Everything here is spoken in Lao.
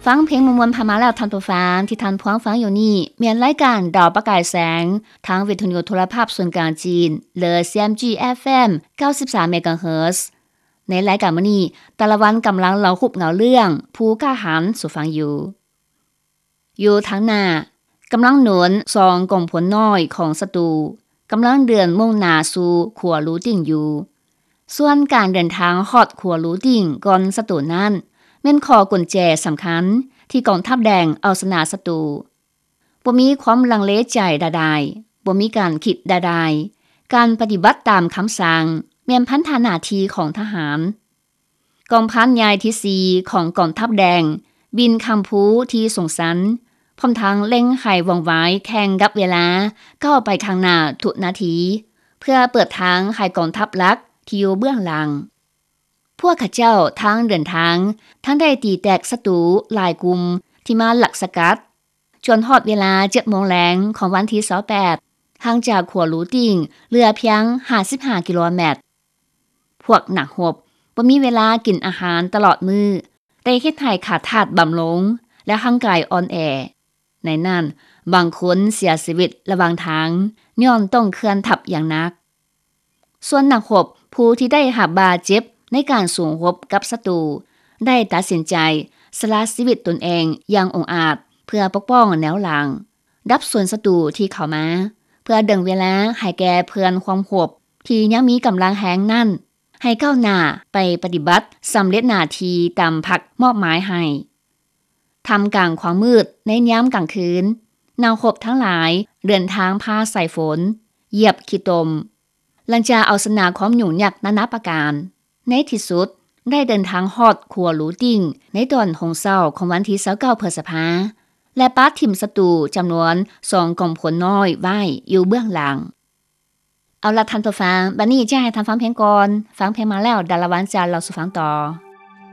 ຟັງເພງມ່ວນໆຜ່ານມາແລ້ວທ່ານຜູ້ຟັງ ທີ່ທ່ານພວງຟັງຢູ່ນີ້ ແມ່ນລາຍການດາວປະກາຍແສງ ທາງວິທະຍຸໂທລະພາບສ່ວນກາງຈີນ ຫຼື CMG FM ເກົ້າສິບສາມເມກາເຮີດ. ໃນລາຍການມື້ນີ້ ຕາລະວັນກຳລັງເລົ່າຮູບເງົາເລື່ອງ ຜູ້ກ້າຫານສູ່ຟັງຢູ່. ຢູ່ທາງໜ້າ ກຳລັງໜູນສອງກອງພົນນ້ອຍຂອງສັດຕູ ກຳລັງເດີນມຸ່ງໜ້າສູ່ຂົວຫຼູຕິ່ງຢູ່. ສ່ວນການເດີນທາງຮອດຂົວຫຼູຕິ່ງກ່ອນສັດຕູນັ້ນ ແມ່ນຂໍ້ກຸນແຈສຳຄັນທີ່ກອງທັບແດງເອົາຊະນະສັດຕູ. ບໍ່ມີຄວາມລັງເລໃຈໃດໆ, ບໍ່ມີການຄິດໃດໆ. ການປະຕິບັດຕາມຄຳສັ່ງແມ່ນພັນທະໜ້າທີ່ຂອງທະຫານ. ກອງພັນໃຫຍ່ທີສີ່ຂອງກອງທັບແດງ ບິນຂ້າມພູທີ່ສູງຊັນ, ພ້ອມທັງເລັ່ງໃຫ້ວ່ອງໄວແຂ່ງກັບເວລາ ກ້າວໄປຂ້າງໜ້າທຸກນາທີ ເພື່ອເປີດທາງໃຫ້ກອງທັບຫຼັກທີ່ຢູ່ເບື້ອງຫຼັງ. ພວກເຂົາເຈົ້າທັງເດີນທາງ ທັງໄດ້ຕີແຕກສັດຕູຫຼາຍກຸ່ມທີ່ມາລັກສະກັດ, ຈົນຮອດເວລາເຈັດໂມງແລງຂອງວັນທີຊາວແປດ ຫ່າງຈາກຂົວຫຼູຕິ່ງເຫຼືອພຽງຫ້າສິບຫ້າກິໂລແມັດ. ພວກນັກຮົບບໍ່ມີເວລາກິນອາຫານຕະຫຼອດມື້, ໄດ້ເຮັດໃຫ້ຂາດທາດບຳລຸງ ແລະ ຮ່າງກາຍອ່ອນແອ. ໃນນັ້ນ, ບາງຄົນເສຍຊີວິດລະຫວ່າງທາງ ຍ້ອນຕ້ອງເຄື່ອນທັບຢ່າງໜັກ. ສ່ວນນັກຮົບຜູ້ທີ່ໄດ້ຮັບບາດເຈັບໃນການສູ້ຮົບກັບສັດຕູ ໄດ້ຕັດສິນໃຈສະຫຼະຊີວິດຕົນເອງຢ່າງອົງອາດ ເພື່ອປົກປ້ອງແນວຫຼັງ, ດັບສູນສັດຕູທີ່ເຂົ້າມາ, ເພື່ອດຶງເວລາໃຫ້ແກ່ເພື່ອນຮ່ວມຮົບທີ່ຍັງມີກຳລັງແຮງນັ້ນ ໃຫ້ກ້າວໜ້າໄປປະຕິບັດສຳເລັດໜ້າທີ່ຕາມພັກມອບໝາຍໃຫ້. ທ່າມກາງຄວາມມືດໃນຍາມກາງຄືນ, ນັກຮົບທັງຫຼາຍເດີນທາງຜ່າສາຍຝົນ, ຢຽບຂີ້ຕົມ, ຫຼັງຈາກເອົາຊະນະຄວາມຫຍຸ້ງຍາກນານາປະການ, ໃນທີ່ສຸດໄດ້ເດີນທາງຮອດຂົວຫຼູຕິ່ງໃນຕອນຫົງເຊົ້າຂອງວັນທີຊາວເກົ້າ ພຶດສະພາ ແລະ ປະຖິ້ມສັດຕູຈຳນວນສອງກອງພົນນ້ອຍໄວ້ຢູ່ເບື້ອງຫຼັງ. ເອົາລະທ່ານຜູ້ຟັງ, ບັດນີ້ຈະໃຫ້ທ່ານຟັງເພງກ່ອນ, ຟັງເພງມາແລ້ວ ດາລະວັນຈະເລົ່າສູ່ຟັງຕໍ່.